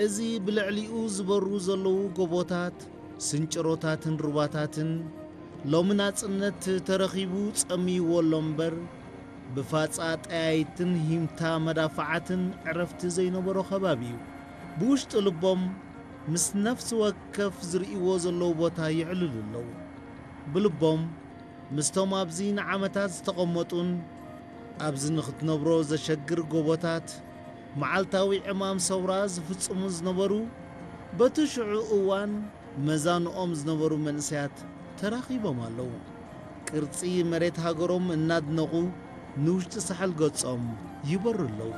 እዚ ብልዕሊኡ ዝበሩ ዘለዉ ጎቦታት፣ ስንጭሮታትን ሩባታትን፣ ሎሚ ናጽነት ተረኺቡ ጸምይዎ ኣሎ እምበር፣ ብፋጻ ጠያይትን ሂምታ መዳፍዓትን ዕረፍቲ ዘይነበሮ ከባቢ እዩ። ብውሽጢ ልቦም ምስ ነፍሲ ወከፍ ዝርእይዎ ዘለዉ ቦታ ይዕልሉ ኣለዉ። ብልቦም ምስቶም ኣብዚ ንዓመታት ዝተቐመጡን ኣብዚ ንኽትነብሮ ዘሸግር ጎቦታት፣ መዓልታዊ ዕማም ሰውራ ዝፍጽሙ ዝነበሩ፣ በቲ ሽዑ እዋን መዛንኦም ዝነበሩ መንእሰያት ተራኺቦም ኣለዉ። ቅርጺ መሬት ሃገሮም እናድነቑ ንውሽጢ ሳሕል ገጾም ይበሩ ኣለዉ።